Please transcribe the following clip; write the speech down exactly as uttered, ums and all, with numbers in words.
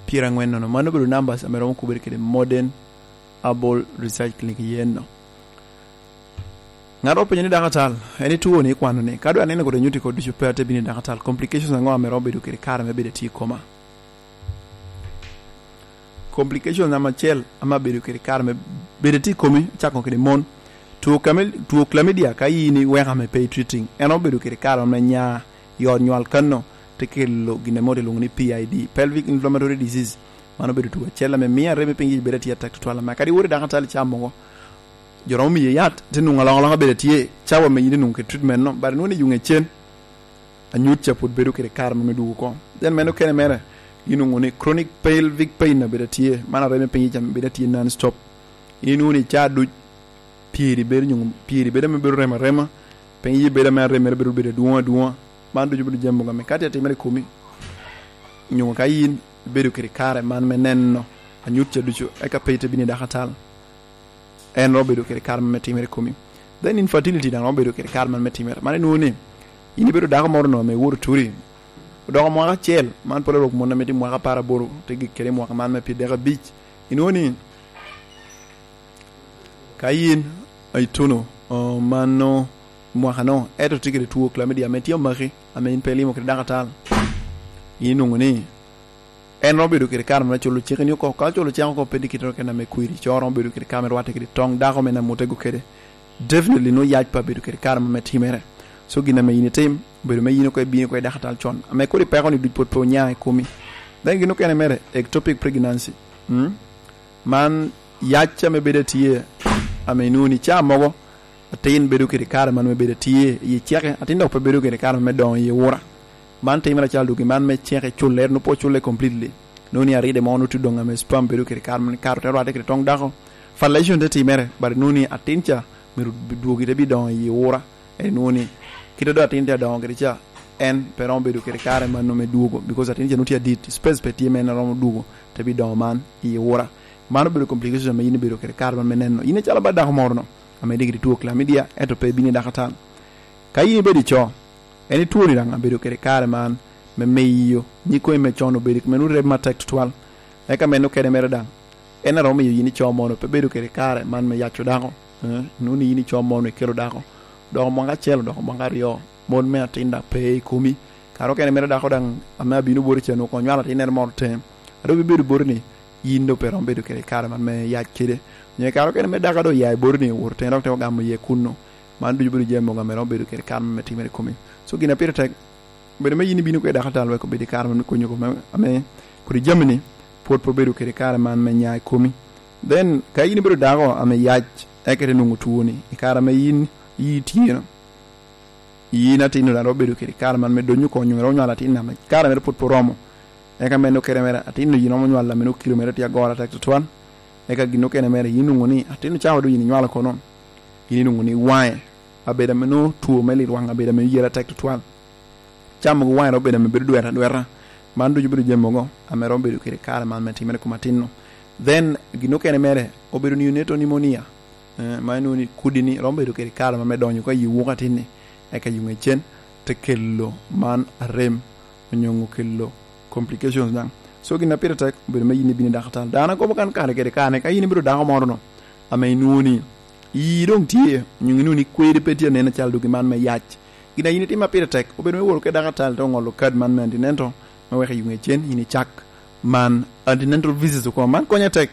pyerangwen nono. Mano obedo numbers ame romo kubere kede Modern Herbal Research Clinic yen no. Ŋat openyo ni, "Dakatal, en ituo ni ikwano ni, ka dwe aneno kodi nyuti kodi ducu pe ate bino i dakatal, complications aŋo ame romo bedo kede kare me bedo atye i koma?" Complication namba acel ame abedo kede kare me bedo atye i komi, cako kede mon. Two, two chlamydia, ka in iweko ame pe i treating, en obedo kede kare me nya i ot nywal kanno, te kelo gin ame ilwongo ni P I D, pelvic inflammatory disease. Mano obedo two acel ame mio arem i piny bedo atye atek tutwal, ame kadi iwot i dakatal icamo mogo, jo romo miyi yat, te nwoŋo alokaloka bedo atye, cawa me yin inwoŋo kede treatment no, but inwoŋo ni yuŋ ecen, anyut ca pwod bedo kede kare me dwogo oko. Then meno kene mere, inwoŋo ni chronic pelvic pain obedo atye, man arem i piny ca bedo atye non stop. In inwoŋo ni ca duc, pyeri bedo, nyoŋo pyeri bedo ame bedo remo arema, piny iye bedo ame arem mere bedo bedo adwoŋ adwoŋa. Man ducu bedo jami mogo ame ka tye atimere i komi, nyoŋo ka in ibedo kede kare man me neno anyut ca ducu, eka pe ite bino i dakatal. En romo bedo kede kare man me timere i komi. Then infertility daŋ romo bedo kede kare man me timere. Man inwoŋo ni in ibedo dako moro no ame iwoto turi, odoko mwaka acel, man pwod orok mon ame tye mwaka apar aboro, te gik kede i mwaka man me pyerdek abic. Inwoŋo ni ka in ituno, o, mano mwaka no, ento tye kede two chlamydia ame tye omaki, ame in pe ilimo kede dakatal, in inwoŋo ni en romo bedo kede kare me culo cik ni oko. Ka culo cik oko pe tye kite kene ame kwiri, co romo bedo kede kare me rwatte kede toŋ dako me namo tego kede. Definitely no yac pa bedo kede kare me timere. So gin ame in itim, obedo me yin oko ibino oko i dakatal con. Ame kodi peko ni duc pwod pe onya i komi. Then gin okene mere, ectopic pregnancy. Mm? Man yac ame bedo atye, ame inwoŋo ni ca mogo, atin bedo kede kare man me bedo atye i ceke, atin dok pe bedo kede kare me doŋo i ura. Man timere acalo dogi man me ceke culle, nwoŋo pe oculle completely. Nwoŋo ni aride mo nwoŋo tye doŋ ame sperm bedo kede kare man kato te rwatte kede toŋ dako. Fertilization te timere, but nwoŋo ni atin ca myero dwogi te bi doŋo i ura. En nwoŋo ni kite dok atin te doŋo kede ca, en pe romo bedo kede kare man nwoŋo me dwogo, because atin ca nwoŋo tye adit, space pe tye me en romo dwogo, te bi doŋo man i ura. Man obedo complication ame in ibedo kede kare man me neno. In acalo ba dako moro no, ame diki two chlamydia, ento pe ibino i dakatal. Ka in ibedo i co, en itwoni daŋ abedo kede kare man me miyo nyikomi me con obedo kome nwoŋo rem matek tutwal. Eka meno kene mere daŋ, en aromo miyo yin ico mono pe bedo kede kare man me yaco dako. Eh, nwoŋo ni yin ico mono ikelo dako, doko mwaka acel, doko mwaka aryo, mon me atin daŋ pe i komi. Kare okene mere dako daŋ ame abino boti ca nwoŋo onywalo atinnere moro tem, a doŋ bibedo boti ni yin doŋ pe romo bedo kede kare man me yac kede. Onyo kare okene mere dako a doŋ oya i boti ni owoto tem dok te ogamo iye kunno. Man ducu bedo jami mogo ame romo bedo kede kare man me timere i komi. So gin a pire tek, bedo me yin ibino kwede dakatal wek obed i kare man me konyo kome ame kodi jami-ni pwod pe obedo kede kare man me nya i komi. Then ka yin ibedo dako ame yac, eka ite nwoŋo twoni i kare ame yin iyi tye no, yin atin-nu daŋ romo bedo kede kare man me donyo oko, onyo romo nywalo atin ame kare mere pwod pe oromo. Eka meno kene mere, atin-nu yin romo nywalo ame nwoŋo kilo mere tye agoro atek tutwal. Eka gin okene mere, yin nwoŋo ni atin-nu cawa doŋ yin inywalo kono, yin inwoŋo ni waŋe abedo ame nwoŋo two me litwaŋ, abedo ame yere atek tutwal. Camo gi waŋe romo bedo ame bedo dweta adweta. Man ducu bedo jami mogo ame romo bedo kede kare man me timere i kom atin-nu. Then gin okene mere obedo neonatal pneumonia. Eh, ma inwoŋo ni kodi-ni romo bedo kede kare ma me donyo oko i wuko atin-ni, eka yuŋ ecen te kelo man arem, onyo kelo complications daŋ. So gin a pire tek obedo me yin ibino i dakatal. Dano akobo kan kare kede kare, ka yin ibedo dako moro no, ame inwoŋo ni iyi doŋ tye, onyo inwoŋo ni kweri pe tye anen acalo dogi man me yac. Gin a yin itimo a pire tek, obedo me wot oko i dakatal te oŋolo kad man me antinento, me weko yuŋ ecen, yin icak man antinental visits oko. Man konye tek,